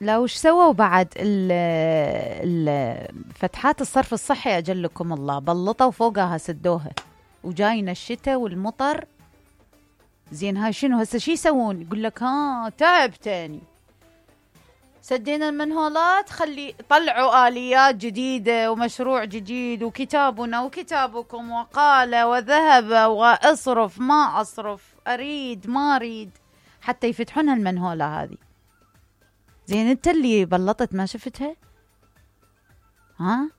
لا وش سووا بعد فتحات الصرف الصحي أجلكم الله، بلطوا فوقها سدوها، وجاينا الشتاء والمطر. زين هاي شنو هسه شي يسوون؟ يقول لك ها تعب تاني، سدينا المنهولات، خلي طلعوا آليات جديدة ومشروع جديد وكتابنا وكتابكم وقال وذهب وأصرف ما أصرف، أريد ما أريد، حتى يفتحون المنهولة هذه. زين انت اللي بلطت ما شفتها؟ ها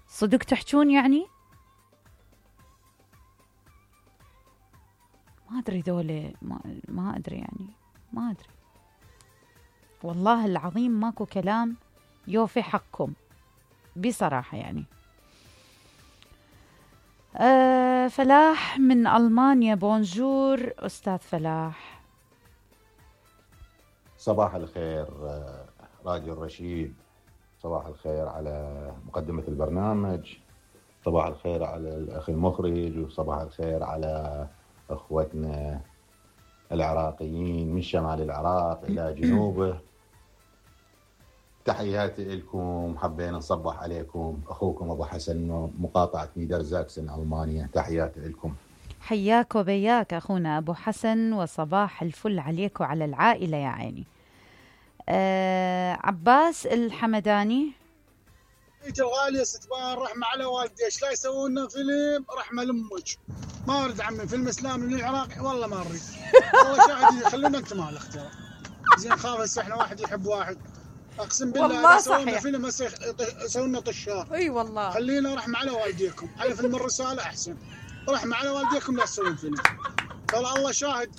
صدق تحجون يعني؟ ما أدري ذولي، ما أدري يعني، ما أدري والله العظيم، ماكو كلام يوفي حقكم بصراحة يعني. فلاح من ألمانيا، بونجور أستاذ فلاح. صباح الخير راديو الرشيد، صباح الخير على مقدمة البرنامج، صباح الخير على الأخ المخرج، وصباح الخير على أخوتنا العراقيين من شمال العراق إلى جنوبه. تحياتي لكم، حبينا نصبح عليكم. أخوكم أبو حسن، مقاطعة نيدرزاكسن ألمانيا، تحياتي لكم. حياك وبياك أخونا أبو حسن، وصباح الفل عليك وعلى العائلة يا عيني. عباس الحمداني. الغالية ستبان رحمة على والدي، ايش لا يسوون لنا فيلم رحمة لأمك. ما أريد عمي فيلم إسلامي من العراق، والله ما أريد. والله شاهد يخلونا أنت مال الاختيار. زين خاف هسه احنا واحد يحب واحد، أقسم بالله والله يسوون لنا صحيح. فيلم هسه يسوون لنا طشار. اي والله. خلينا رحمة على والديكم، على فيلم الرسالة أحسن. رحمة على والديكم لا تسوون فيلم. والله الله شاهد،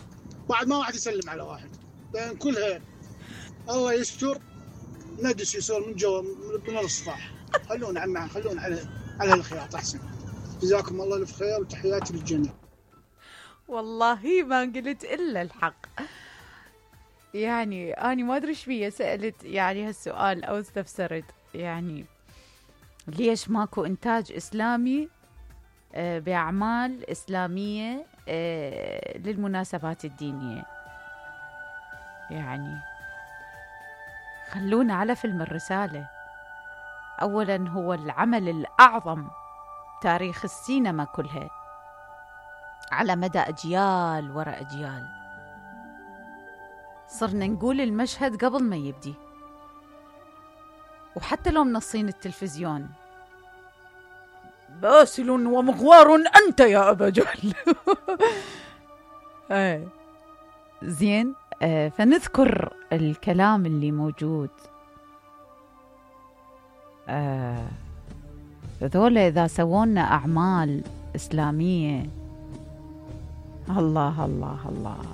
بعد ما واحد يسلم على واحد بين كلها. الله يستر، ندس يصير من جوا من الصفاح. خلونا عمي، خلونا على الخياط أحسن. جزاكم الله الف خير وتحياتي للجميع. والله ما قلت إلا الحق يعني. أنا ما أدري إيش بيه سألت يعني هالسؤال أو استفسرت يعني ليش ماكو إنتاج إسلامي بأعمال إسلامية للمناسبات الدينية. يعني خلونا على فيلم الرسالة. أولا هو العمل الأعظم تاريخ السينما كلها على مدى أجيال وراء أجيال. صرنا نقول المشهد قبل ما يبدي، وحتى لو منصين التلفزيون باسل ومغوار أنت يا أبا جهل. زين فنذكر الكلام اللي موجود. ذولا إذا سوونا أعمال إسلامية، الله الله الله،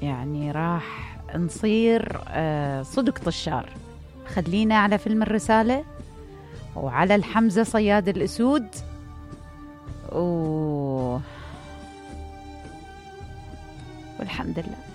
يعني راح نصير صدق طشار. خلينا على فيلم الرسالة وعلى الحمزة صياد الأسود والحمد لله.